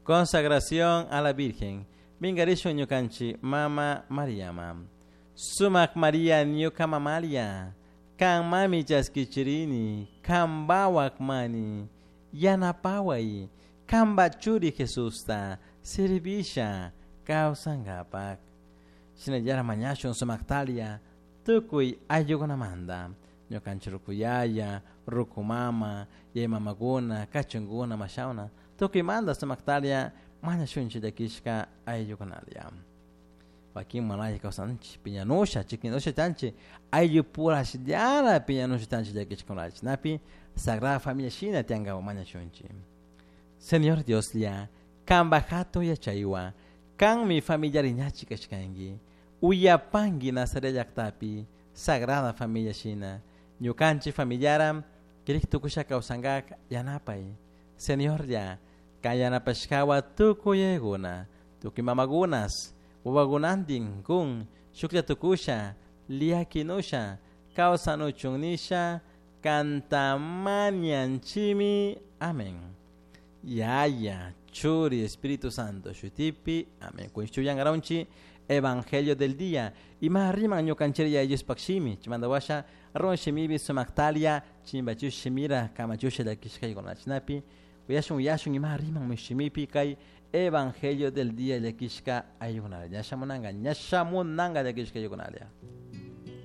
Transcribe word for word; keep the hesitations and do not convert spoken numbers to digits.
Consagración a la Virgen. Mingarishun ñukanchik mama Mariama. Sumak Maria ñuka mamalia. Kan mami chaskichirini, kanpawak mani, yanapaway, kanpa churi Jesusta, sirvisha, kawsankapak. Shinallara mañashun sumaktalia, tukuy ayllukunamanta. Ñukanchik ruku yaya, ruku mama, yaya mamakuna, kachunkuna, mashawna, tukuymanta sumaktalia mañashunchik llakishka ayllukunalia. Wakin manalla kawsanchik piñanusha, chikinusha chanchik, ayllupurashllara piñanusha chanchik llakishkunalla. Chinapi Sagrada Familia shina tiyankapak mañashunchik. Señor Dioslla, kanpak hatun yachaywan, kanmi familiariñachik kashkanki, uyapanki Nazaret llaktapi Sagrada Familia shina, ñukanchik familiara kirik tukusha kawsankak yanapay. Señorlla, kan yanapashkawan tukuy yayakuna, tukuy mamakunas, wawakunantin kun shuklla tukusha, liakinusha, kawsanuchun nisha, kantamanianchimi. Amén. Yaya, Churi, Espíritu Santo, shutipi. Amén. Kunshuyangaronchi, Evangelio del día. Ima riman ñukanchiri Yaya Diospaj shimi. Chimanda washa, ron shimibi sumaktalia, chimbachush shimira, kamachusha llakishkaykuna. Chinapi, uyashun uyashun ima riman shimipi kay Evangelio del día llakishka ayllukuna. Ña shamunanga, ña shamunanga llakishka ayllukuna.